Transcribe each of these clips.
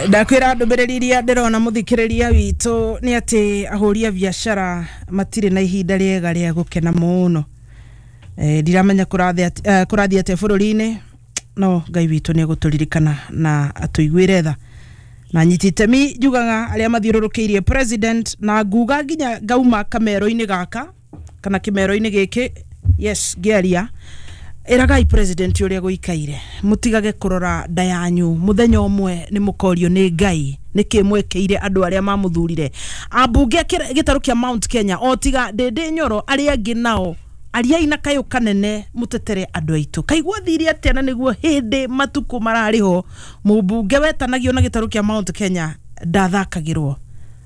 Ndakwĩra ndũmĩrĩri iria ndĩrona mũthikĩrĩria witũ nĩ atĩ ahũri a biacara matirĩ na ihinda rĩega rĩa gũkena mũno. Ndiramenya kũrathiĩ atĩa bũrũri-inĩ, no Ngai witũ nĩ egũtũririkana na atũiguĩre tha. Na nyiti itemi njugaga arĩa mathiũrũrũkĩirie president, na nguga nginya ngauma kamero-inĩ gaka kana kĩmero-inĩ gĩkĩ, yes, ngĩaria ĩragai president ũrĩa gũikaire, mũtigage kũrora nda yanyu. Mũthenya ũmwe nĩ mũkorio nĩ Ngai nĩkĩ mwekĩire andũ arĩa mamũthurire. Ambunge a gĩtarũ kĩa Mount Kenya, o tiga Ndĩndĩ Nyoro, arĩa angĩ nao ariai na kayũ kanene mũtetere andũ aitũ. Kaigua thire atĩa? Na nĩguo hĩndĩ matukũ mararĩ ho, mũmbunge wetanagio na gĩtarũ kĩa Mount Kenya ndathakagĩrwo,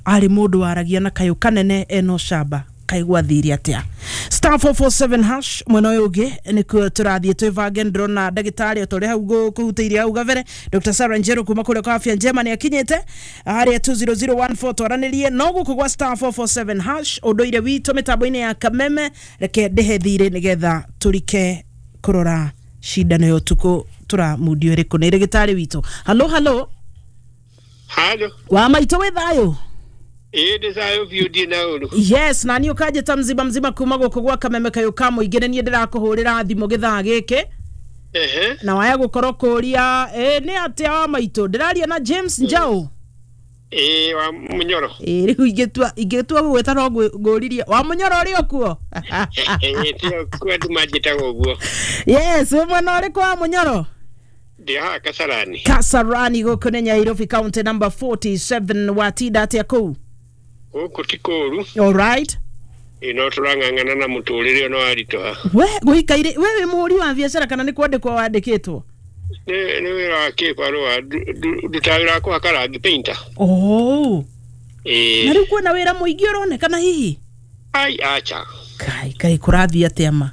arĩ mũndũ waragia na kayũ kanene ena ũcamba. Kaigua thire atĩa? *447# mwena ũyũ ũngĩ nĩkuo tũrathiĩ twĩbange. Ndĩrona ndagĩtarĩ o ta ũrĩa hau kũhutĩirie hau gabere, Dr. Sarah Njeru kuma kũrĩa kwa Afya Njema nĩ akinyĩte harĩa 20014 twaranĩrie no gũkũ gwa *447# ũndũire witũ mĩtambo-inĩ ya Kameme. Reke ndĩhe thirĩ nĩgetha tũrike kũrora cindano ya ũtukũ tũramundio ĩrĩkũ nĩ ndagĩtarĩ witũ. Halo, halo. Halo. Wa maitũ, wĩ thayũ? Ĩĩ, ndĩ thayũ biũ, ndirĩ na ũru. Yes, na niĩ ũkanjĩta mzima mzima kuma gũkũ gwa Kameme kayũ ka mũingĩ. Nĩ niĩ ndĩrakũhũrĩra thimũ gĩthaa gĩkĩ na waya gũkorwo kũria ĩ nĩ atĩa. Wa maitũ, ndĩraria na James Njau? Ĩĩ, wa Mũnyoro. Ĩ rĩu ingĩtua gũgwĩta no ngũririe wa Mũnyoro ũrĩ o kuo? Ĩĩ, tiga kuo, andũ manjĩtaga ũguo. Yes, wĩ mwena ũrĩkũ wa Mũnyoro? Ndĩ haha Kasarani. Kasarani gũkũ nĩ Nyairobi, county number 47. Watinda atĩa kũu? Gũkũ ti kũũru. Alright. Ĩĩ, no tũrang'ang'ana na mũtũrĩre ũno waritũha. We gũikaire, we wĩ mũhũri wa biacara kana nĩ kwandĩkwo wandĩkĩtwo? Nĩ wĩra wa kĩbarũa, ndutaga wĩra wa kũhaka rangi, painter. Oh. Ĩĩ. Na rĩu kwĩna wĩra mũingĩ ũronekana hihi? Ai, acha. Kai kai, kũrathiĩ atĩa ma?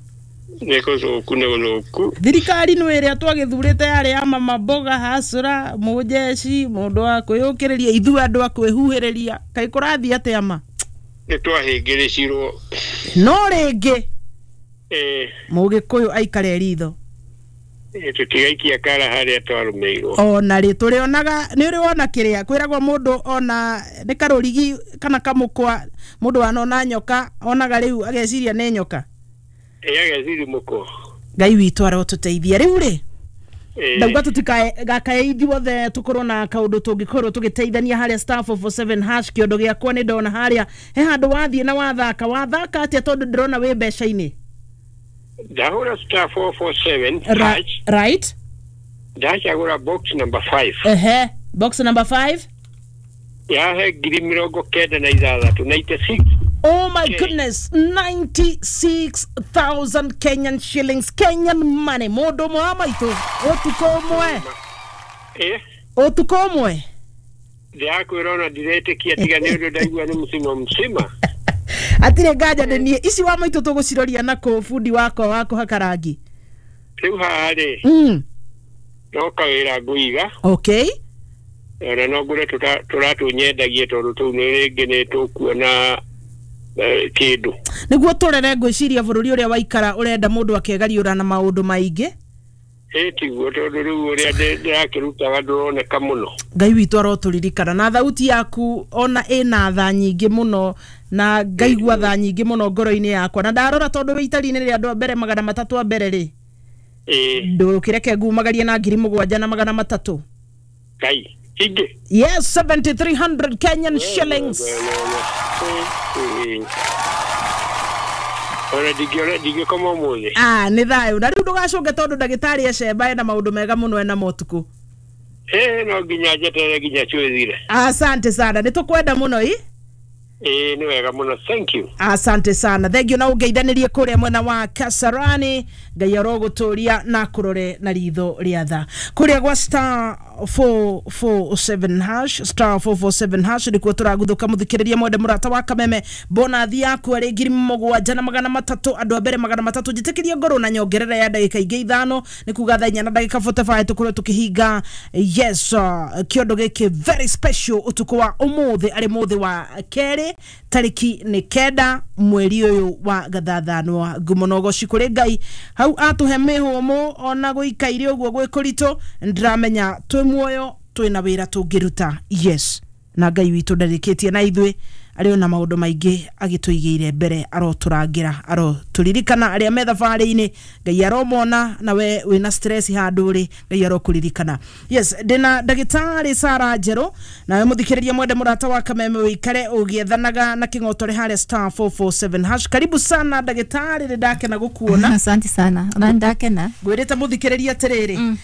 Nĩ gũthũku, nĩ gũthũku. Thirikari nĩ ĩrĩa twagĩthurĩte yarĩ ya mama mboga hacũra mũjeci mũndũ wa kwĩyũkĩrĩria, ithuĩ andũ a kwĩhuhĩrĩria. Kaĩ kũrathiĩ atĩa ma? Nĩ twahĩngĩrĩcirwo. No rĩngĩ Ĩĩ. mũgĩkũyũ aikare ritho. Ĩĩ, tũtigaikia kara harĩa twarũmĩirwo. Ona rĩ tũrĩonaga nĩ ũrĩ wona kĩrĩa kwĩragwo mũndũ ona nĩ karũrigi kana kamũkwa, mũndũ wanona nyoka onaga rĩu ageciria nĩ nyoka. Ĩĩ, ageciri mũkwa. Ngai witũ arotũteithia. Rĩu rĩ, Ĩĩ. ndauga tũtikagakae ithuothe tũkorwo na kaũndũ tũngĩkorwo tũgĩteithania harĩa *447# kĩondo gĩakwa. Nĩ ndona harĩa he handũ wathiĩ na wathaka. Wathaka atĩa, tondũ ndĩrona wĩ mbeca-inĩ? Ndahũra *447 hash. Ndacagũra box number 5. Ehe, box number 5. Yahe 96,000, 96. Oh my Okay. goodness, 96,000 Kenyan shillings, Kenyan money. Mũndũ ũmwe wa maitũ, ũtukũ ũmwe. Ĩ. Ũtukũ ũmwe. Ndĩrakwĩra ona ndiretĩkia, tiga nĩ ũndũ ndaigua nĩ msima msima. Hatirĩ nganja nĩ niĩ. Ici wa maitũ tũgũciroria na kũ bundi wakwa wa kũhaka rangi? Rĩu haha rĩ, no kawĩra ngũiga. Ona no ngũre tũratũnyendagie, tondũ tũu nĩ rĩngĩ nĩ tũkuona kĩndũ. Nĩguo tũrere ngwĩciria bũrũri ũrĩa waikara ũrenda mũndũ akegariũra na maũndũ maingĩ. Ĩ tiguo, tondũ rĩu ũrĩa ndĩrakĩrutaga ndũroneka mũno. Ngai witũ arotũririkana. Na thauti yaku ona ĩna tha nyingĩ mũno, na ngaigua tha nyingĩ mũno ngoro-inĩ yakwa. Na ndarora, tondũ wĩ itari-inĩ rĩa andũ a mbere 300 a mbere rĩ, ndũkĩreke ngumagarie na 7,300. Ngai ingĩ. Yes, 7300 Kenyan shillings. Ĩ. Ona ndingĩona, ndingĩkoma ũmũthĩ. Ah, nĩ thayũ. Na rĩu ndũgacũnge, tondũ ndagĩtarĩ ecemba ena maũndũ mega mũno ena motukũ. Ĩ, no nginya njeterere nginya cuĩthire. Asante sana, nĩ tũkwenda mũno i. Ĩ, nĩ wega mũno, thank you. Asante sana, thengio na ũngeithanĩrie kũrĩa mwena wa Kasarani. Ngai arogũtũria na kũrore na ritho rĩa tha. Kũrĩa gwa *447#, *447# nĩkuo tũraguthũka. Mũthikĩrĩria mwende mũrata wa Kameme, bonathi yaku arĩ 7,300, andũ a mbere 300. Njĩtĩkĩrie ngorwo na nyongerera ya ndagĩka ingĩ 5, nĩ kuga thaa 4 na ndagĩka 45 tũkorwo tũkĩhinga, yes, kĩondo gĩkĩ very special ũtukũ wa ũmũthĩ, arĩ mũthĩ wa kerĩ, tarĩki nĩ 9 mweri ũyũ wa gathathanwa. Ngumo na ũgoci kũrĩ Ngai hau atũhe mĩhũmũ ona gũikaire ũguo gwĩ kũritũ. Ndĩramenya twĩ muoyo. Twina wira tungiruta. Yes, na Ngai witũ ndarĩkĩtie na ithuĩ, arĩ ona maũndũ maingĩ agĩtũigĩire mbere, arotũrangĩra, arotũririkana arĩa me thabarĩ-inĩ, Ngai aromona, na we wĩna stress handũ rĩ, Ngai arokũririkana. Yes, ndĩna ndagĩtarĩ Sara Njerũ, nawe mũthikĩrĩria mwende mũrata wa Kameme wĩikare ũgĩethanaga na kĩng'otore harĩa *447#. Karibu sana ndagĩtarĩ, nĩ ndakena gũkuona. Asante sana, ona ndakena. Ngwĩrĩte mũthikĩrĩria atĩrĩrĩ,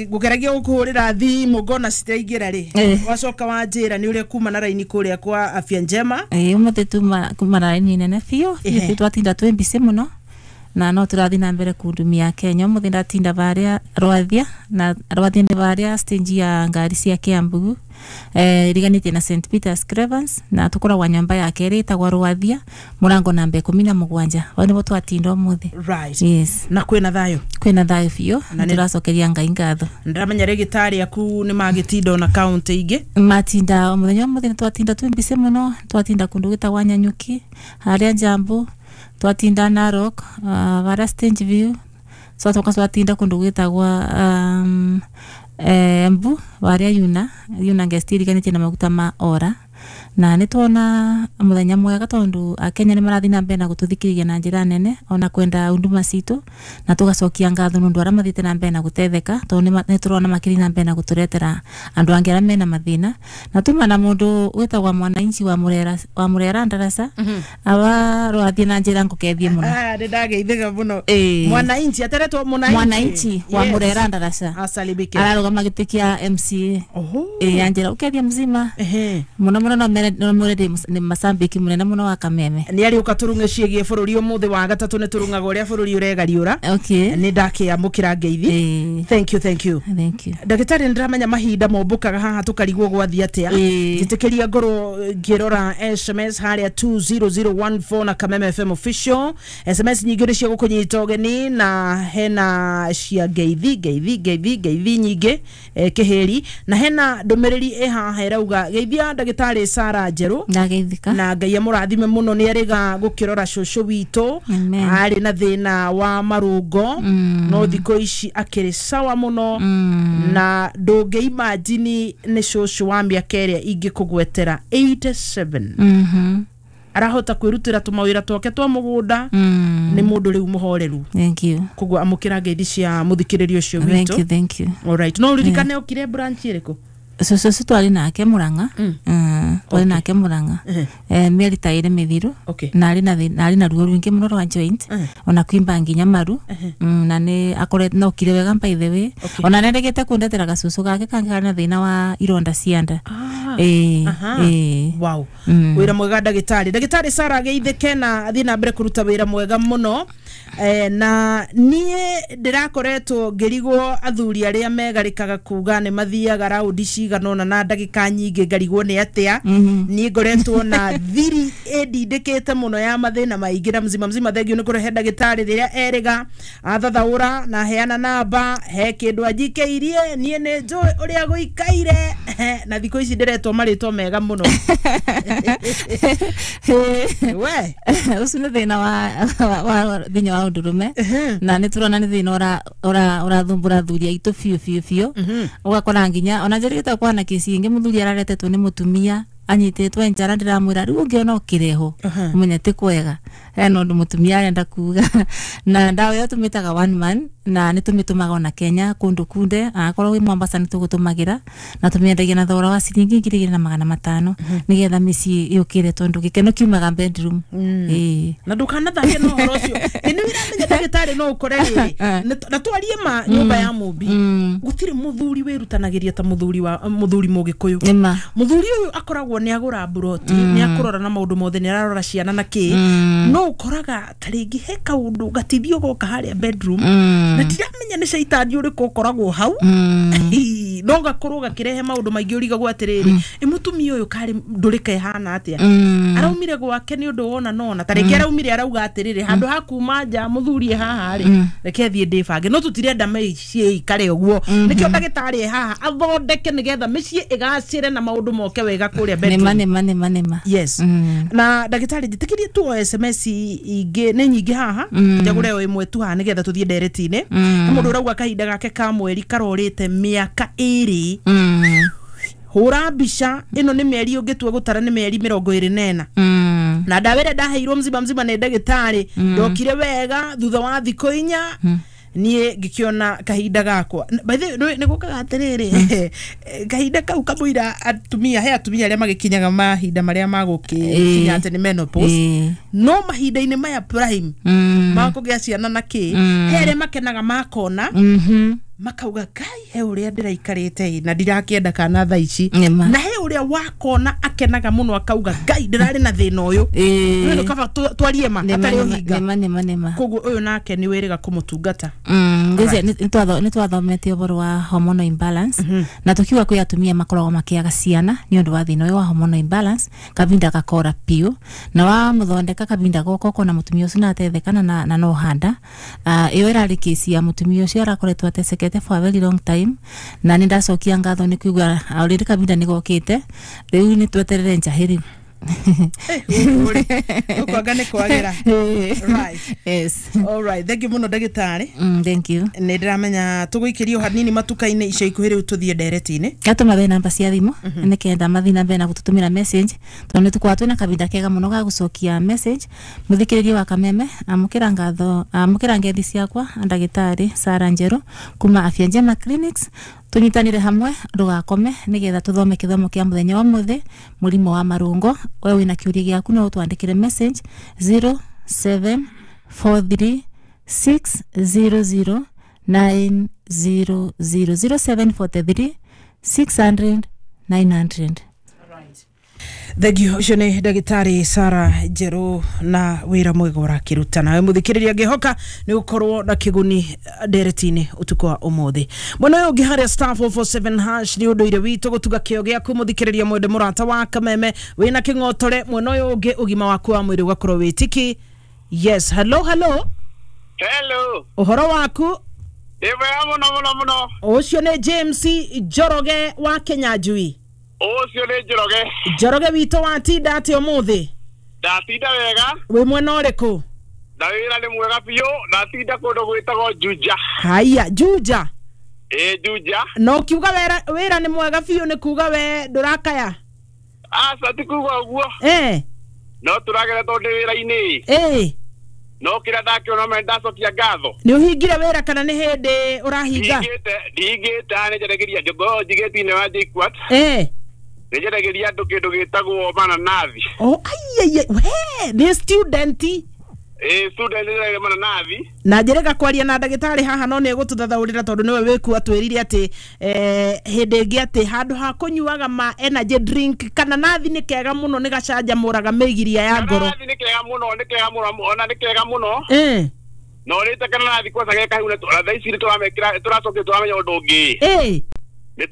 ngũgeragia gũkũhũrĩra thimũ ngona citiraingĩra rĩ, wacoka wanjĩra nĩ ũrĩa kuma na raini kũrĩa kwa Afya Njema. Ũmũthĩ tuma kuma na raini nene biũ biũ, twatinda twĩ mbicĩ mũno na no tũrathiĩ na mbere kundumia Kenya. Ũmũthĩ ndatinda varĩa Rwathia, na Rwathia nĩ varĩa stage ya ngari cia Kiambu, iriganĩtie na St Peter's Cravens, na tũkoragwo nyũmba ya kerĩ ĩtagwo Rwathia, mũrango namba 17. Hau nĩho twatinda ũmũthĩ. Right. Yes. Na kwĩna thayũ? Kwĩna thayũ biũ, Na na tũracokeria Ngai ngatho. Ndĩramenya rĩgĩtarĩ aku nĩ magĩtinda ona kaũntĩ ingĩ. Matinda mũthenya ũmũthĩ nĩ twatinda twĩ mbicĩ mũno, twatinda kũndũ gwĩtagwa Nyanyuki, harĩa Njambu, twatinda Narok, varĩa Stage View, twatoka twatinda kũndũ gwĩtagwa Embu, varĩa Yuna Guest iriganĩtie na maguta ma Ora. Na nĩ tuona mũthenya mwega tondũ Akenya nĩ marathiĩ na mbere na gũtũthikĩrĩria na njĩra nene, ona kwenda huduma citũ, na tũgacokia ngatho nĩ ũndũ arĩa mathiĩte na mbere na gũtetheka, tondũ nĩ tũrona makĩria na mbere na gũtũretera andũ angĩ arĩa mena mathĩna. Na tuma na mũndũ wĩtagwa Mwananchi wa Murera, wa Murera Ndarasa, aba rwathiĩ na njĩra ngũkethie mũno. Nĩ ndageithĩka mũno. Mwananchi ateretwo Mwananchi. Mwananchi wa Murera Ndarasa. Asalimike. Ararũgama gĩtĩ kĩa MCA. Oho. Anjĩra ũkethie mzima. Mũno mũno no mere no mere nĩ macambĩki mũnene mũno wa Kameme. Nĩ arĩũka tũrung'e ciĩgiĩ bũrũri ũmũthĩ wa gatatũ, nĩ tũrung'aga ũrĩa bũrũri ũregariũra. Nĩ ndakĩamũkĩra ngeithi. Thank you, thank you. Thank you. Ndagĩtarĩ, nĩ ndĩramenya mahinda mombũkaga haha tũkarigwo gwathiĩ atĩa. Njĩtĩkĩria ngorwo ngĩrora SMS harĩa 20014 na Kameme FM official. SMS nyingĩ nĩ cia gũkũnyita ũgeni, na hena cia ngeithi, ngeithi, ngeithi, ngeithi nyingĩ, kĩhĩri, na hena ndũmĩrĩri ĩ haha ĩrauga geithia ndagĩtarĩ Sara Njerũ. Ndageithĩka. Na Ngai amũrathime mũno, nĩ arĩga gũkĩrora cũcũ witũ. Amen. Arĩ na thĩna wa marũngo, no thikũ ici akĩrĩ sawa mũno, na ndũngĩimagine nĩ cũcũ wa mĩaka ĩrĩa ingĩkũgwetera 87. Arahota kwĩrutĩra tũmawĩra twake twa mũgũnda. Nĩ mũndũ rĩu mũhoreru. Thank you. Koguo amũkĩra ngeithi cia mũthikĩrĩria ũcio Thank witũ. you, thank you. Alright, no ũririkane ũkire branch ĩrĩkũ? Cũcũ ũcio twarĩ nake Murang'a. Twarĩ nake Murang'a mĩeri ta ĩrĩ mĩthiru. Na arĩ na na arĩ na ruo rũingĩ mũno rwa joint, ona kwimba nginya maru. Na nĩ akoretwo na okire wega by the way. Ona nĩ aregete kũndetera gacũcũ gake kangĩ karĩ na thĩna wa ironda cia nda. Wow. Wĩra mwega ndagĩtarĩ. Ndagĩtarĩ Sara ageithĩke na athiĩ na mbere kũruta wĩra mwega mũno. Na niĩ ndĩrakoretwo ngĩrigwo athuri arĩa megarĩkaga kuga nĩ mathiaga raundi cigana ũna na ndagĩka nyingĩ, ngarigwo nĩ atĩa. Niĩ ngoretwo na thiri ĩndindĩkĩte mũno ya mathĩna maingĩ, na mzima mzima thengio nĩ kũrehe ndagĩtarĩ rĩrĩa erĩga athathaũra na heana namba, he kĩndũ anjikĩirie niĩ nĩ njũĩ ũrĩa gũikaire, na thikũ ici ndĩretwo marĩtwa mega mũno. We. Ũcio nĩ thĩna wa thĩinĩ wa ũndũrũme, na nĩ tũrona nĩ thĩna ũrathumbũra athuri aitũ biũ biũ biũ. Ũgakora nginya ona njĩrĩgĩte kwana kĩci ĩngĩ mũthuri araretetwo nĩ mũtumia anyitĩtwo njara, ndĩramwĩra rĩu ũngĩona ũkĩrehwo ũmenye ti kwega, hena ũndũ mũtumia arenda kuga. Na ndawa ĩyo tũmĩtaga one man, na nĩ tũmĩtũmaga ona Kenya kũndũ kunde, akorwo wĩ Mombasa nĩ tũgũtũmagĩra, na tũmĩendagia na thogora wa ciringi 2500, nĩgetha mĩciĩ yũkĩre, tondũ gĩkeno kiumaga bedroom. Na ndũkanathake na ũhoro ũcio. Ĩ nĩ ũramenya ndagĩtarĩ no ũkore rĩrĩ, na twarie ma nyũmba ya mũmbi, gũtirĩ mũthuri wĩrutanagĩria ta mũthuri wa mũthuri mũgĩkũyũ. Nĩma. Mũthuri ũyũ akoragwo nĩ agũra mburoti, nĩ akũrora na maũndũ mothe, nĩ ararora ciana na kĩ, no ũkoraga ta rĩngĩ he kaũndũ gatithio goka harĩa bedroom, na ndiramenya nĩ caitani ũrĩkũ ũkoragwo hau, no gakorwo gakĩrehe maũndũ maingĩ ũrigagwo atĩrĩrĩ, ĩ mũtumia ũyũ karĩ ndũrĩka ĩhana atĩa, araumire gwake nĩ ũndũ wona nona ta rĩngĩ araumire arauga atĩrĩrĩ, handũ ha kuma nja mũthuri e haha rĩ, reke thiĩ ndĩbange, no tũtirenda mĩciĩ ikare ũguo, nĩkĩo ndagĩtarĩ e haha athondeke nĩgetha mĩciĩ ĩgacĩre na maũndũ moke wega kũrĩa bedroom. Nĩma, nĩma, nĩma, nĩma. Yes. Na ndagĩtarĩ, njĩtĩkĩrie tuoe SMS ingĩ nĩ nyingĩ haha, njagũre o ĩmwe tu haha nĩgetha tũthiĩ ndereti-inĩ. Nĩ mũndũ ũrauga kahinda gake ka mweri karorĩte mĩaka 2. Hũra mbica ĩno nĩ mĩeri ũngĩtua gũtara nĩ mĩeri 24. Na ndawa ĩrĩa ndaheirwo mzima mzima nĩ ndagĩtarĩ, ndokire wega thutha wa thikũ 4 niĩ ngĩkĩona kahinda gakwa. By the way, nĩ gũkaga atĩrĩrĩ, kahinda kau kamũira atumia, he atumia arĩa magĩkinyaga mahinda marĩa magũkĩkinya atĩ nĩ menopause, no mahinda-inĩ maya prime makũgĩa ciana na kĩ, he arĩa makenaga makona, makauga kai he ũrĩa ndĩraikarĩte na ndirakĩenda kana thaa ici, na he ũrĩa wakona akenaga mũno akauga ngai ndĩrarĩ na thĩna ũyũ. Nĩ kaba twarie ma hatarĩ ũhinga. Nĩma. Koguo ũyũ nake nĩ wĩrĩga kũmũtungata. Nĩ twathomete ũhoro wa hormonal imbalance, na tukiuga kwĩ atumia makoragwo makĩaga ciana nĩ ũndũ wa thĩna ũyũ wa hormonal imbalance, kavinda gakora piũ na wamũthondeka kavinda goka ũkona mũtumia ũcio natethekana na no handa. Ĩyo ĩrarĩ kesi ya mũtumia ũcio arakoretwo atecekete for a very long time, na nĩ ndacokia ngatho nĩ kuigua already kavinda nĩ gokĩte, rĩu nĩ tweterere njahĩ rĩu. Ũkwanga nĩ kwagĩra. Right. Yes. All right, thank you mũno ndagĩtarĩ. Thank you. Nĩ ndĩramenya tũgũikĩrio hanini matuka-inĩ ica ikuhĩ, rĩu tũthiĩ ndereti-inĩ. Gatũma namba cia thimũ nĩkenda mathiĩ na mbere na gũtũtũmĩra message, tondũ nĩ tũkoragwo twĩna kavinda kega mũno ga gũcokia message. Mũthikĩrĩria wa Kameme, amũkĩra ngatho, amũkĩra ngethi ciakwa ndagĩtarĩ Sara Njerũ kuma Afya Njema Clinics. Tũnyitanĩre hamwe, ndũgakome, nĩgetha tũthome kĩthomo kĩa mũthenya wa mũthĩ, mũrimũ wa marũngo. We wĩna kĩũria gĩaku no ũtwandĩkĩre message 0743 600 900, 0743 600 900. Thengiũ. Ũcio nĩ ndagĩtarĩ Sara Njerũ na wĩra mwega ũrakĩruta. Nawe mũthikĩrĩria, ngĩhoka nĩ gũkorwo na kĩguni ndereti-inĩ ũtukũ wa ũmũthĩ. Mwena ũyũ ũngĩ harĩa *447# nĩ ũndũire witũ gũtuga kĩo gĩaku mũthikĩrĩria mwende mũrata wa Kameme wĩna kĩng'otore. Mwena ũyũ ũngĩ ũgima waku wa mwĩrĩ ũgakorwo wĩ tiki. Yes, hello, hello. Hello. Ũhoro waku? Ndĩ mwega mũno mũno mũno. Ũcio nĩ James Njoroge wa Kenya Njui? Ũcio nĩ Njoroge. Njoroge witũ, watinda atĩa ũmũthĩ? Ndatinda wega. Wĩ mwena ũrĩkũ? Na wĩra nĩ mwega biũ, ndatinda kũndũ gwĩtagwo Juja. Haya, Juja. Ĩ, Juja. Na ũkiuga wĩra nĩ mwega biũ nĩ kuga we ndũrakaya? Aca, ti kuga ũguo. No tũragera tondũ ndĩ wĩra-inĩ. No kĩrĩa ndakĩona me ndacokia ngatho. Nĩ ũhingire wĩra kana nĩ hĩndĩ ũrahinga? Ndihingĩte, nĩ njaragĩria ngoragwo njigĩte thĩinĩ wa JKUAT. Nĩ njaragĩria andũ kĩndũ gĩtagwo mananathi. Oh, aiaiai, we nĩ student? Ĩ, student, nĩ njaragĩria mananathi. Na njĩrĩga kwaria na ndagĩtarĩ haha, no nĩ egũtũthathaũrĩra tondũ nĩwe wĩku atwĩrire atĩ hĩndĩ ĩngĩ atĩ handũ ha kũnyuaga ma energy drink, kana nathi nĩ kega mũno, nĩ gacanjamũraga mĩgiria ya ngoro. Mananathi nĩ kega mũno, nĩ kega mũno, ona nĩ kega mũno. Na ũrĩte kananathi kwanza ge kahiu, na thaa ici nĩ tũramekĩra, tũracokire tũramenya ũndũ ũngĩ. Nĩ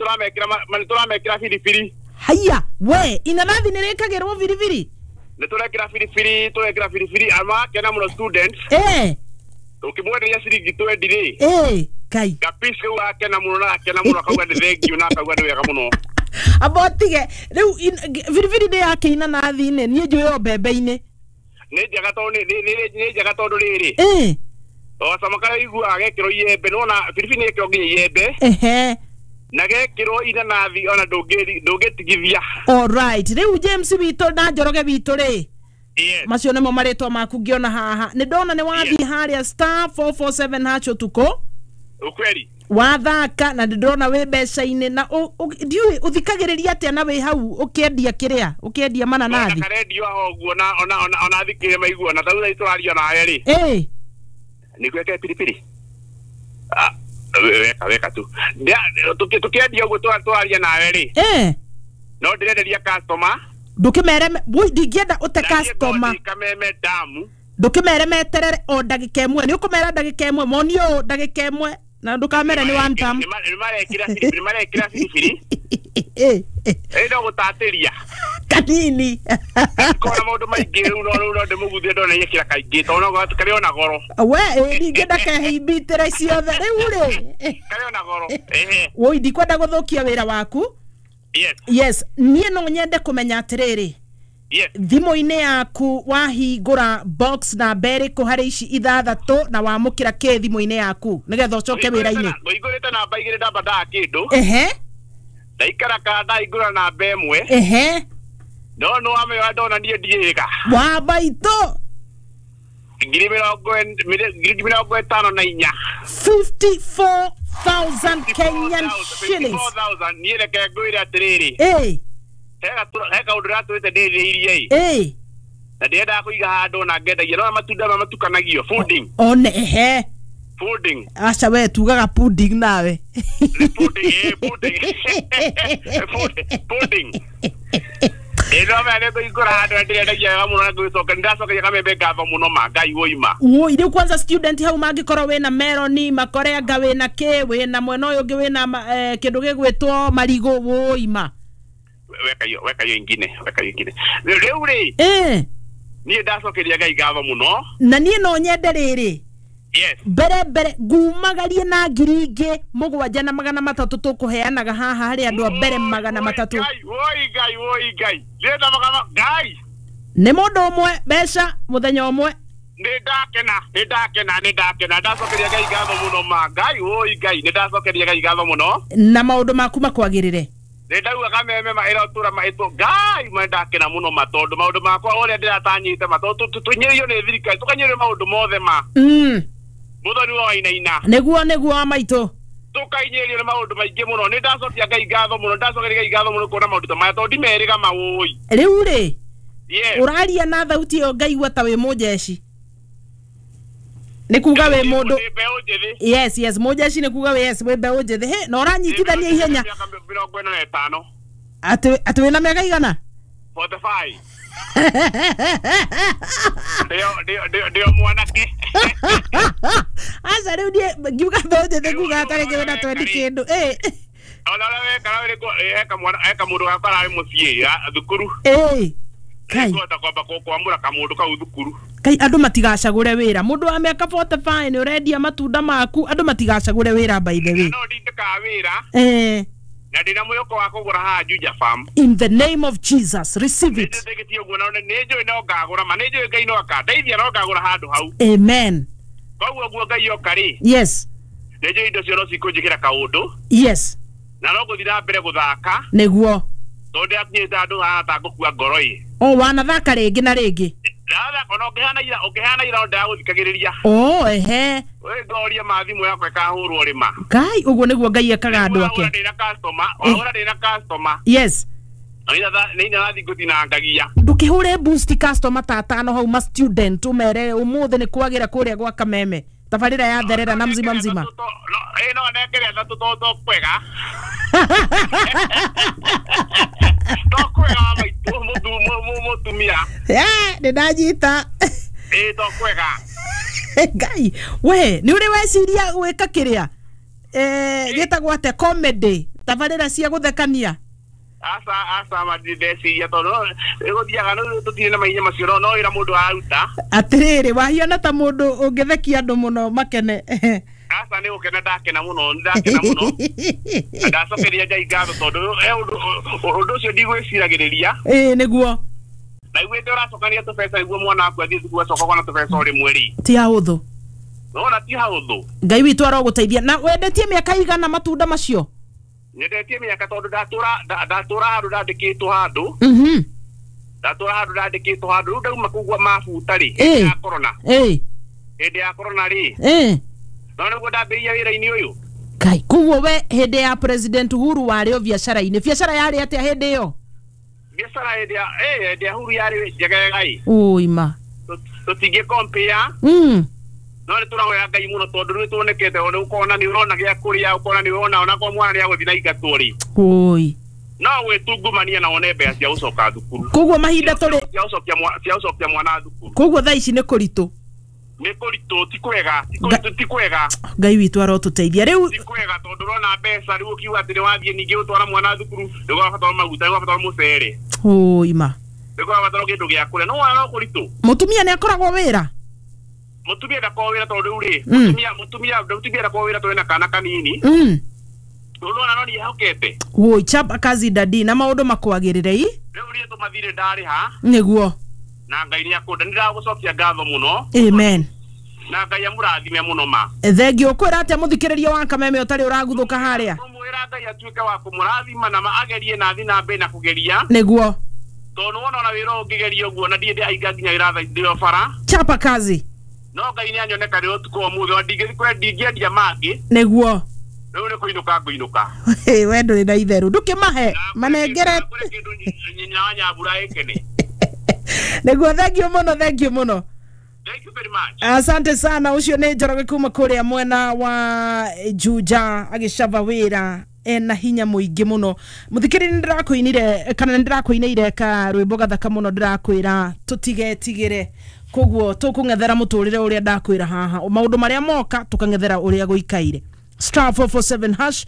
tũramekĩra biribiri. Haya, we inanathi nĩ rĩkagĩrwo biribiri? Nĩ tũrekĩra biribiri, tũrekĩra biribiri amakena mũno students. Ũkĩmwenderia ciringi 20 rĩ, Kai. Gapisi kau akena mũno na akena mũno, akauga nĩ thengiũ na akauga nĩ wega mũno. Amba ũtige rĩu, biribiri nĩ yake inanathi-inĩ, niĩ njũĩ o mbembe-inĩ. Nĩ njega tondũ nĩ njega tondũ rĩrĩ, o cama karĩa ũiguaga gekĩrwo iembe, nĩwona biribiri nĩ gekĩrwo nginya iembe na gekĩrwo inanathi, ona ndũngĩtigithia. Alright, rĩu James witũ na Njoroge witũ rĩ, Yes. macio nĩmo marĩtwa maku ngĩona haha. Nĩ ndona nĩ wathiĩ harĩa *447# ũtukũ. Ukweli. Wathaka na nĩ ndĩrona wĩ mbeca-inĩ na ndiũĩ ũthikagĩrĩria atĩa na wĩ hau ũkĩendia kĩrĩa ũkĩendia mananathi. Ona karendio aho ũguo na ona thikĩrĩria maigua na tarĩu thaa ici tũraria nawe rĩ, nĩguo ĩkĩre piripiri. Ah, weka weka tu. Tũkĩendia ũguo tũraria nawe rĩ, no ndĩrenderia customer. Ndũkĩmere woi, ndingĩenda ũte Na niĩ customer. ngorwo ndĩ Kameme damu. Ndũkĩmere meterere o ndagĩka ĩmwe, nĩ ũkũmera ndagĩka ĩmwe, moni ũũ ndagĩka ĩmwe na ndũkamere nĩ one term. Nĩ marekĩra biribiri. Ĩ, no gũtatĩria. Kanini. Kona maũndũ maingĩ rĩu, no rĩu no ndĩmũguthie ndona yekĩra kaingĩ tondũ no karĩ ona goro. We ĩ, ndingĩenda kehimbitĩre ciothe rĩu rĩ. Karĩ ona goro, ehe. Woi, ndikwenda gũthũkia wĩra waku. Yes. Yes, niĩ no nyende kũmenya atĩrĩrĩ, thimũ-inĩ yaku wahingũra box namba ĩrĩkũ harĩ ici ithathatũ, na wamũkĩra kĩ thimũ-inĩ yaku nĩgetha ũcoke wĩra-inĩ? Ngũhingũrĩte namba 2, ndamba ndaa kĩndũ. Ndaikara ka ndaingũra namba ĩmwe. Ehe. No nĩ wamenya ndona niĩ ndiĩga. Wa maitũ. 54,000. 54,000 Kenyan shillings. 54,000. Niĩ reke ngwĩre atĩrĩrĩ. Ĩĩ. He kaũndũ ratũrĩte ndĩrĩirie ĩ. Ĩĩ. Na ndĩrendaga kũiga handũ na ngendagia no matunda maya matukanagio fooding. One ehe. Pudding. Aca we tugaga pudding nawe. Pudding, pudding. Pudding. Ĩno mene kũingũra handũ ndĩrendagia wega mũno na ngũgĩcoka nĩndacokeria kamembe ngatho mũno ma Ngai woima. Woi rĩu kwanza student hau mangĩkorwo wĩna meroni makorenga wĩna kĩ wĩna mwena ũyũ ũngĩ wĩna kĩndũ gĩgwĩtwo marigũ woima. Weka hiyo ingine, weka hiyo ingine. Rĩu rĩ. Eh. Niĩ ndacokeria Ngai ngatho mũno. Na niĩ no nyende rĩrĩ. Yes. Mbere ngumagarie na 7,300 tũkũheanaga haha harĩ andũ a mbere 300. Woi Ngai, woi Ngai. Ndĩrenda magana Ngai. Nĩ mũndũ ũmwe mbeca mũthenya ũmwe. Nĩ ndakena, nĩ ndakena, nĩ ndakena. Ndacokeria Ngai ngatho mũno ma Ngai, woi Ngai, nĩ ndacokeria Ngai ngatho mũno. Na maũndũ maku makwagĩrĩre. Nĩ ndauga kameme ma ĩrotũra ma ĩtũ Ngai ma ndakena mũno ma tondũ maũndũ makwa ũrĩa ndĩratanyĩte ma tondũ tũnyĩrĩirio nĩ thirikari tũkanyĩrĩrio maũndũ mothe ma. Muthoni wa wainaina. Nĩguo wa maitũ. Tũkainyĩrĩrio nĩ maũndũ maingĩ mũno. Nĩ ndacokia Ngai ngatho mũno, ndacokeria Ngai ngatho mũno kuona maũndũ ta maya tondũ ndimerĩga mawũi. Rĩu rĩ. Yes. Ũraria na thauti ĩyo ngaigua ta wĩ mũjeshi. Nĩ kuga wĩ mũndũ. Yes, yes, mũjeshi nĩ kuga wĩ yes, wĩ mbeũ njĩthĩ. Hĩ, na ũranyitithania ihenya. 45. Atĩ wĩna mĩaka igana? 45. Ndio mwanake. Aca rĩu niĩ ngiuga mbeũ njĩthĩ nguga ta rĩngĩ wĩna 20 kĩndũ. Ĩ. Ona ũrĩa weka eka mũndũ gakwa ararĩ mũciĩ thukuru. Ĩ. Kai. Nĩngũhota kwamba kwamũra kamũndũ kau thukuru. Kai andũ matigacagũre wĩra. Mũndũ wa mĩaka 45 nĩ ũrendia matunda maku, andũ matigacagũre wĩra by the way. No ndindĩkaga wĩra. Eh. Na ndĩna mwĩhoko wa kũgũra haha Juja Farm. In the name of Jesus, receive it. Nĩndĩtĩkĩtie ũguo na nĩ njũĩ no ngagũra ma nĩ njũĩ Ngai no akandeithia no ngagũra handũ hau. Amen. Koguo guo Ngai oka rĩ. Yes. Nĩ njũĩ indo cio no cikũnjĩkĩra kaũndũ. Yes. Na no ngũthiĩ na mbere gũthaka. Nĩguo. Tondũ ndĩrakinyĩte handũ haha ta ngũkua ngoro ĩ. O wanathaka rĩngĩ na rĩngĩ. Ndathaka ona ũngĩhana ira ndagũthikagĩrĩria. Oh ehe. We ngoria ma thimũ yakwa ĩkahũrwo rĩma. Ngai ũguo nĩguo Ngai ekaga andũ ake. Ndĩna customer, wahũra ndĩna customer. Yes. Nĩ nathiĩ ngũtinangagia. Ndũkĩhũre boost customer ta atano hau ma student ũmere ũmũthĩ nĩ kwagĩra kũrĩa gwa Kameme. Tabarĩra ya therera na mzima mzima. No nengere atatũ to kwega. To kwega maitũ mũtumia. Nĩ ndanyita. Ĩ to kwega. Ngai we nĩ ũrĩ weciria gwĩka kĩrĩa gĩtagwo atĩa comedy tabarĩra cia gũthekania. Aca ma ndeciria tondũ gũthiaga tũtirĩ na mahinya macio no wĩra mũndũ araruta. Atĩrĩrĩ wahiana ta mũndũ ũngĩthekia andũ mũno makene. Aca nĩ gũkena ndakena mũno, ndakena mũno. Ndacokeria Ngai ngatho tondũ ũndũ ũcio ndigwĩciragĩrĩria. Ĩĩ nĩguo. Na iguĩte ũracokania tũbeca nĩguo mwana waku athiĩ thukuru acoka kona tũbeca o rĩmwe rĩ. Ti hahũthũ. Nona ti hahũthũ. Ngai witũ arogũteithia. Na wendetie mĩaka igana matunda macio? Nyendetie mĩaka tondũ ndatũra handũ ndandĩkĩtwo handũ. Ndatũra handũ ndandĩkĩtwo handũ rĩu ndauma kũgua mabuta rĩ hĩndĩ ya corona. Hĩndĩ ya corona rĩ. No nĩguo ndambĩrĩria wĩra-inĩ ũyũ. Ngai koguo we hĩndĩ ya President Uhuru warĩ o biacara-inĩ. Biacara yarĩ atĩa hĩndĩ ĩyo? Biacara hĩndĩ ya Uhuru yarĩ njegega ĩ. Ũima. Tũtingĩ compare. No nĩ tũrahoya Ngai mũno tondũ rĩu tuonekete ona ũkona nĩ ũrona gĩa kũrĩa ũkona nĩ ũrona ona kwa mwana nĩ agũthiĩ na ingatwo rĩ. Ũi. No gwĩtungumania na wone mbeca cia gũcoka thukuru. Koguo mahinda tũrĩ cia gũcokia mwana thukuru. Koguo thaa ici nĩ kũritũ. Nĩ kũritũ ti kwega, ti kwega. Ngai witũ arotũteithia rĩu. Ti kwega tondũ ũrona mbeca rĩu ũkiuga atĩ nĩ wathiĩ ningĩ gũtwara mwana thukuru nĩ ũrabatara maguta, nĩ ũrabatara mũcere. Ũima. Nĩ ũrabatara kĩndũ gĩa kũrĩa no wona no kũritũ. Mũtumia nĩ akoragwo wĩra? Mũtumia ndakoragwo wĩra tondũ rĩu rĩ, mũtumia ndakoragwo wĩra tondũ ena kana kanini. Ũrona no niĩhokete. Woi chapa kazi dadi na maũndũ makwagĩrĩre i. Rĩu niĩ tũmathirĩ ndarĩha. Nĩguo. Na Ngai nĩ akũnda nĩ ndagũcokia ngatho mũno. Amen. Na Ngai amũrathime mũno ma. Thengio kwĩra atĩa mũthikĩrĩria wa Kameme ũtarĩ ũraguthũka harĩa? Mũmwĩra Ngai atuĩke wa kũmũrathima na agerie na athiĩ na mbere na kũgeria. Nĩguo. Tondũ wona ona wĩra ũngĩgeria ũguo na ndiĩ ndĩrahinga nginya wĩra thaa ndĩ o bara. Chapa kazi. No Ngai nĩ anyoneka rĩ ũtukũ wa ũmũthĩ ona ndingĩendia mangĩ. Nĩguo. Rĩu nĩ kũinũka ngũinũka. We ndũrĩ na itherũ ndũkĩmahe manengere kĩndũ nyina wa Nyambura ĩkene. Nĩguo, thengio mũno, thengio mũno. Thank you very much. Asante sana. Ucio nĩ Njoroge kuma kũrĩa mwena wa Juja agĩcaba wĩra ena hinya mũingĩ mũno. Mũthikĩrĩria, nĩ ndĩrakũinire kana nĩ ndĩrakũinĩire ka rwĩmbo gathaka mũno, ndĩrakwĩra tũtigetigĩre, koguo tũkũng'ethera mũtũrĩre ũrĩa ndakwĩra haha, maũndũ marĩa moka tũkang'ethera ũrĩa gũikaire. *447#,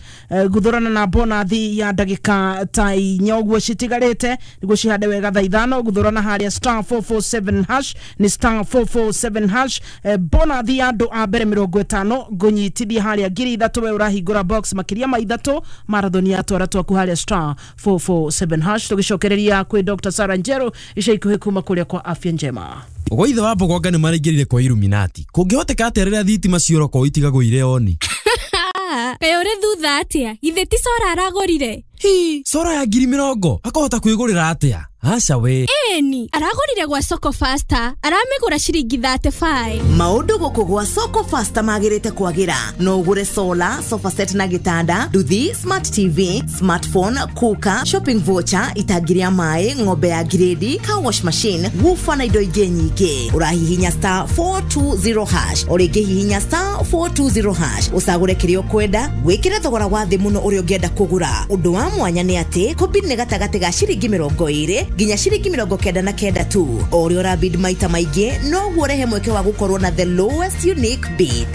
guthurana na bonathi ya ndagika ta 4 ũguo citigarĩte nĩguo cihande wega thaa 5. Guthurana harĩa *447#, nĩ *447#. Bonathi ya andũ a mbere 50 ngũnyitithia harĩa 3,000. We ũrahingũra box makĩria ma 3 marathoni ya twara twaku harĩa *447#. Tũgĩcokereria kwĩ Dr. Sarah Njeru ica ikuhĩ kuma kũrĩa kwa Afya Njema. Gwa ithe wa Mbogonga nĩ maraingĩrire kwa Illuminati. Kũngĩhoteka atĩa rĩrĩa thitima ciora kwao itigagũire oni? Kaĩ ũrĩ thutha atĩa? Githĩ ti cora aragũrire? Hi, cora ya 20,000 akahota kwĩgũrĩra atĩa? Aca we. Ĩni, aragũrire gwa Soko Faster, aramĩgũra ciringi 35. Maũndũ gũkũ gwa Soko Faster magĩrĩte kwagĩra. No ũgũre solar, sofa set na gĩtanda, nduthi, smart TV, smartphone, cooker, shopping voucher, itangi rĩa maĩ, ng'ombe ya grade, car wash machine, woofer na indo ingĩ nyingĩ. Ũrahihinya *420#, o rĩngĩ hihinya *420# ũcagũre kĩrĩa ũkwenda, wĩkĩre thogora wa thĩ mũno ũrĩa ũngĩenda kũgũra. Ũndũ wa mwanya nĩ atĩ kũbid nĩ gatagatĩ ga ciringi 20 nginya ciringi 99 tu. O ũrĩa ũrabid maita maingĩ noguo ũrehe mweke wa gũkorwo na the lowest unique bid.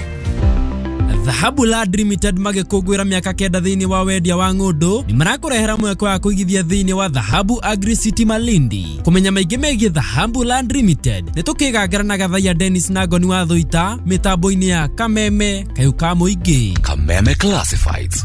Dhahabu Land Limited magĩkũngũĩra mĩaka 9 thĩinĩ wa wendia wa ng'ũndũ nĩ marakũrehera mweke wa kũigithia thĩinĩ wa Dhahabu Agri City Malindi. Kũmenya maingĩ megiĩ Dhahabu Land Limited nĩ tũkĩgangara na Gathaiya Dennis na Ngoni wa Thũita mĩtambo-inĩ ya Kameme Kayũ ka Mũingĩ. Kameme Classifieds.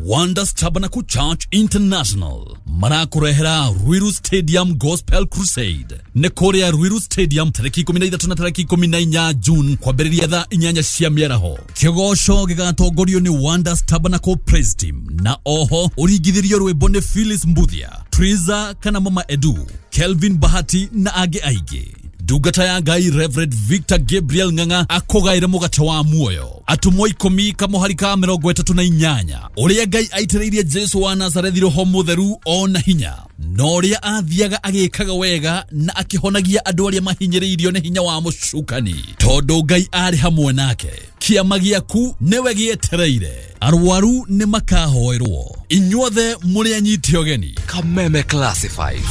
Wonders Tabernacle Church International marakurehera Ruiru Stadium Gospel Crusade. Nĩ kũrĩa Ruiru Stadium tarĩki 13 na tarĩki 14 June kwambĩrĩria thaa 8 cia mĩaraho. Kĩgoco gĩgatongorio nĩ Wonders Tabernacle Praise Team na oho ũringithĩrio rwĩmbo nĩ Phyllis Mbuthia, Triza kana Mama Edu, Kelvin Bahati na angĩ aingĩ. Ndungata ya Ngai Reverend Victor Gabriel Ng'ang'a akũgaĩre mũgate wa muoyo. Atũmwo 10 kamũhari ka 38 ũrĩa Ngai aitĩrĩirie Jesu wa Nazarethi roho mũtheru ona hinya, na ũrĩa athiaga agĩkaga wega na akĩhonagia andũ arĩa mahinyĩrĩirio nĩ hinya wa mũcukani, tondũ Ngai arĩ hamwe nake. Kĩama gĩaku nĩwe gĩetereire, arwaru nĩ makahoerwo, inyuothe mũrĩ anyiti ũgeni. Kameme Classifieds.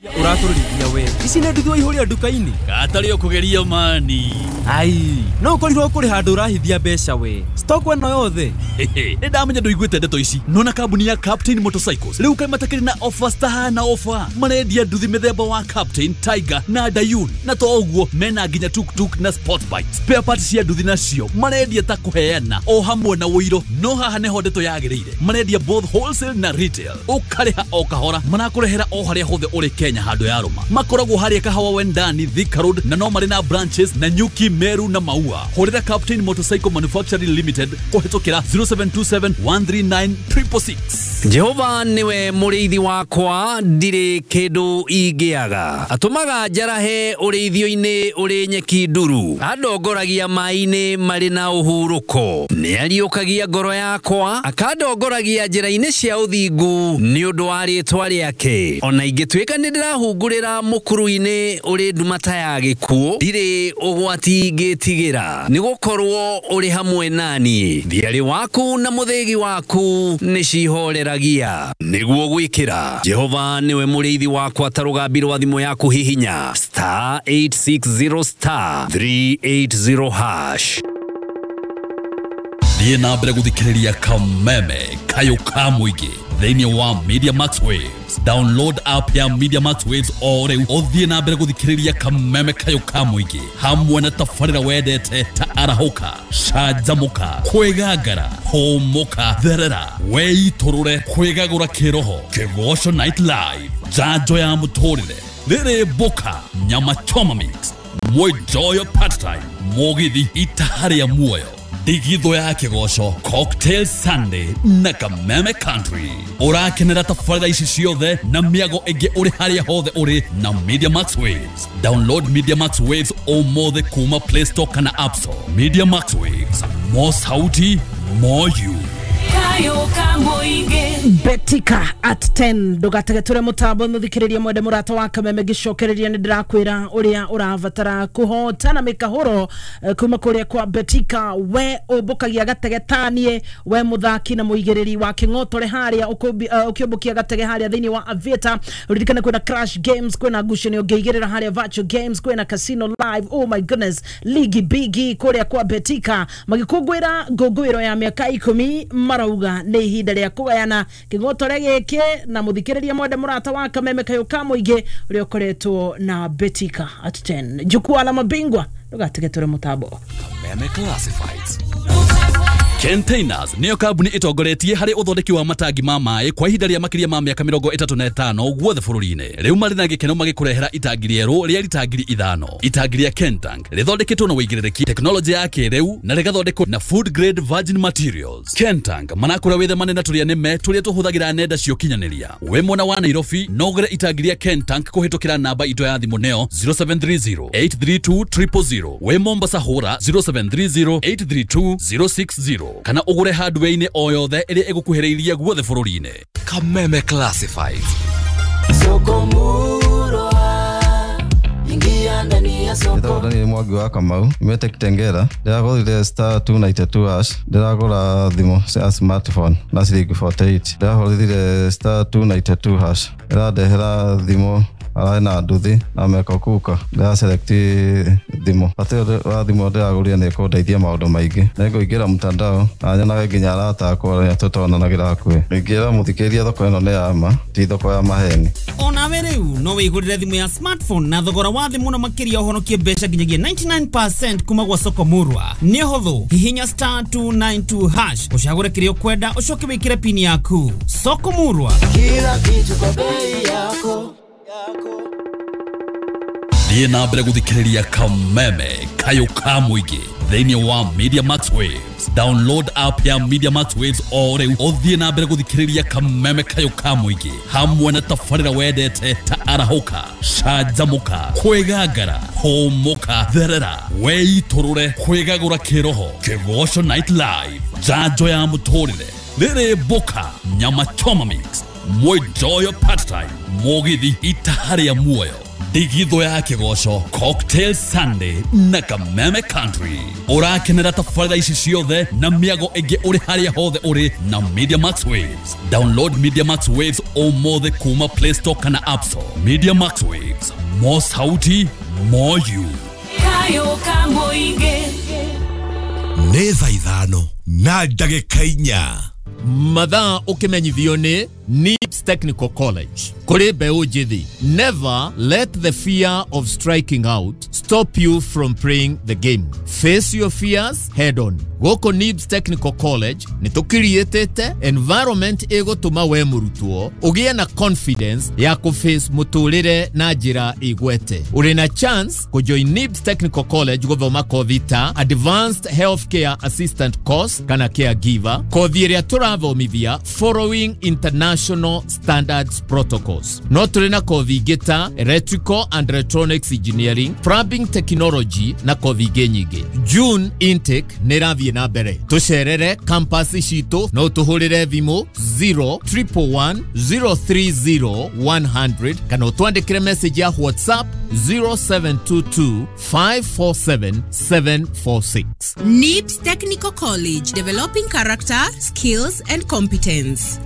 Ũratũrĩrithia we ici nĩ nduthi waihũria nduka-inĩ Gatarĩ ũkũgeria mani. Ai, no ũkorirwo kũrĩ handũ ũrahithia mbeca we stock ĩno yothe. Nĩ ndamenya ndũiguĩte ndeto ici. Nona kambuni ya Captain Motorcycles rĩu kaĩ matakĩrĩ na offers tahana offer. Marendia nduthi mĩthemba wa Captain, Tiger na Dayun, na to ũguo mena nginya tuktuk na sport bike. Spare parts cia nduthi nacio marendia ta kũheana o hamwe na ũiro. No haha nĩho ndeto yagĩrĩire, marendia both wholesale na retail, ũkarĩha o kahora, marakũrehera o harĩa hothe ũrĩ Kenya handũ ya rũma. Makoragwo harĩa Kahawa Wendani, Thika Road, na no marĩ na branches na Nyuki, Meru na Maua. Hũrĩra Captain Motorcycle Manufacturing Limited kũhĩtũkĩra 0727 139 666. Jehova niwe mũrĩithi wakwa, ndirĩ kĩndũ ingĩaga. Atũmaga njarahe ũrĩithio-inĩ ũrĩ nyeki nduru, andongoragia maĩ-inĩ marĩ na ũhurũko. Nĩariũkagia ngoro yakwa, akandongoragia njĩra-inĩ cia ũthingu nĩ ũndũ wa rĩĩtwa rĩake. Ona ingĩtuĩka nĩ ndĩrahungurĩra mũkuru-inĩ ũrĩ nduma ta ya gĩkuũ, ndirĩ ũgwati ingĩtigĩra, nĩgũkorwo ũrĩ hamwe nani. Thiarĩ waku na mũthĩgi waku nĩcihoreragia. Nĩguo gwĩkĩra Jehova nĩwe mũrĩithi wakwa ta rũgambi rwa thimũ yaku, hihinya *860 *380#. Thiĩ na mbere gũthikĩrĩria Kameme Kayũ ka Mũingĩ thĩinĩ wa Media Max Waves. Download app ya Media Max Waves o rĩu ũthiĩ na mbere gũthikĩrĩria Kameme Kayũ ka Mũingĩ hamwe na tabarĩra wendete ta arahũka, canjamũka, kwĩgangara, hũmũka, therera, weitũrũre, kwĩgagũra kĩroho, Kĩgoco Night Live, njanjo ya mũtũrĩre, Rĩrĩ Mboka, Nyama Choma Mix, Mwenjoyo Part Time, Mũgithi Itaharĩa Muoyo, Ndigithũ ya Kĩgoco, Cocktail Sunday na Kameme Country. Ũrakenera tabarĩra ici ciothe na mĩago ĩngĩ ũrĩ harĩa hothe ũrĩ na Media Max Waves. Download Media Max Waves ũmũthĩ kuma Play Store kana App Store. Media Max Waves, more sauti, more you. Betika at 10 ndũgategetũre mũtambo mũthikĩrĩria mwende mũrata wa Kameme ngĩcokereria nĩ ndĩrakwĩra ũrĩa ũrabatara kũhotana mĩkahũro kuma kũrĩa kwa Betika. We ũmbũkagia gatege tanie, we mũthaki na mũigĩrĩri wa kĩng'otore harĩa ũkĩũmbũkia gatege harĩa thĩinĩ wa Aviator. Ũririkane kwĩna Crash Games, kwĩna ngucanio ũngĩigĩrĩra harĩa Virtual Games, kwĩna Casino Live, oh my goodness, ligi bigi kũrĩa kwa Betika magĩkũngũĩra ngũngũĩro ya mĩaka 10 marauga nĩ ihinda rĩa kũgayana kĩng'otore gĩkĩ na mũthikĩrĩria mwende mũrata wa Kameme kayũ ka mũingĩ ũrĩa ũkoretwo na Betika at 10 jukwaa la mabingwa ndũgatigetũre mũtambo. Kameme Classifieds. Containers nĩyo kambuni ĩtongoretie harĩ ũthondeki wa matangi ma maĩ kwa ihinda rĩa makĩria ma mĩaka 35 guothe bũrũri-inĩ. Rĩu marĩ na gĩkeno magĩkũrehera itangi rĩerũ rĩa rita 5,000. Itangi rĩa Kentank rĩthondeketwo na ũigĩrĩrĩki, tekinoronjĩ ya kĩrĩu na rĩgathondekwo na food grade virgin materials. Kentank manakũra wĩthemane na tũrĩa nĩme tũrĩa tũhũthagĩra nenda cia ũkinyanĩria. Wĩ mwena wa Nairobi no ũgũre itangi rĩa Kentank kũhĩtũkĩra namba itũ ya thimũ nĩyo 0730 832 000. Wĩ Mombasa hũra 0730 832 060 kana ũgũre hardware-inĩ o yothe ĩrĩa ĩgũkuhĩrĩirie guothe bũrũri-inĩ. Kameme Classifieds. Soko murwa, ingia ndani ya soko. Ndĩragũra nĩ Mwangi wa Kamau, nyumĩte Kitengela. Ndĩragũrire star 292 hash, ndĩragũra thimũ cia smartphone na ciringi 48. Ndĩrahũrire star 292 hash, ĩrandehera thimũ ararĩ na nduthi na meko kuka. Ndĩra select thimũ. Bata wa thimũ ndĩragũrire nĩ ĩkũndeithia maũndũ maingĩ. Nĩngũingĩra mtandao na nyonage nginya arata akwa arĩa tũtonanagĩra hakuhĩ. Ingĩra mũthikĩrĩria thoko ĩno nĩ ya ma, ti thoko ya maheni. Onawe rĩu no wĩgũrĩre thimũ ya smartphone na thogora wa thĩ mũno makĩria ũhonokie mbeca nginyagia 99% kuma gwa Soko Murwa. Nĩ ũhũthũ, hihinya star 292 hash ũcagũre kĩrĩa ũkwenda ũcoke wĩkĩre pini yaku. Soko Murwa, kila kitu kwa bei yako. Thiĩ na mbere gũthikĩrĩria Kameme kayũ ka mũingĩ thĩinĩ wa Media Max Waves. Download app ya Media Max Waves o rĩu ũthiĩ na mbere gũthikĩrĩria Kameme kayũ ka mũingĩ hamwe na tabarĩra wendete ta arahũka, canjamũka, kwĩgangara, hũmũka, therera, weitũrũre, kwĩgagũra kĩroho, Kĩgoco Night Live, njanjo ya mũtũrĩre, Rĩrĩ Mboka, Nyama Choma Mix, Mwenjoyo Part Time, Mũgithi Itaharĩa Muoyo, Ndigithũ ya Kĩgoco, Cocktail Sunday na Kameme Country. Ũrakenera tabarĩra ici ciothe na mĩago ĩngĩ ũrĩ harĩa hothe ũrĩ na Media Max Waves. Download Media Max Waves ũmũthĩ kuma Play Store kana App Store. Media Max Waves, more sauti, more you. Kayo ka mũingĩ. Nĩ thaa 5 na ndagĩka 4. Mathaa ũkĩmenyithio nĩ NIBS Technical College. Kũrĩ mbeũ njĩthĩ, never let the fear of striking out stop you from playing the game. Face your fears head on. Gũkũ NIBS Technical College nĩ tũkiriĩtĩte environment ĩgũtũma we mũrutwo ũgĩe na confidence ya kũface mũtũrĩre na njĩra ĩgwete. Ũrĩ na chance kũjoin NIBS Technical College gũthoma kothi ta Advanced Healthcare Assistant Course kana Caregiver, kothi ĩrĩa tũrathomithia following international standards protocols. No tũrĩ na kothi ingĩ ta Electrical and Electronics Engineering, Plumbing Technology na kothi ingĩ nyingĩ. June intake nĩ ĩrathiĩ na mbere. Tũcerere campus citũ no tũhũrĩre thimũ 0111 030 100 kana ũtwandĩkĩre message ya WhatsApp 0722 547 746. NIBS Technical College, developing character, skills and competence.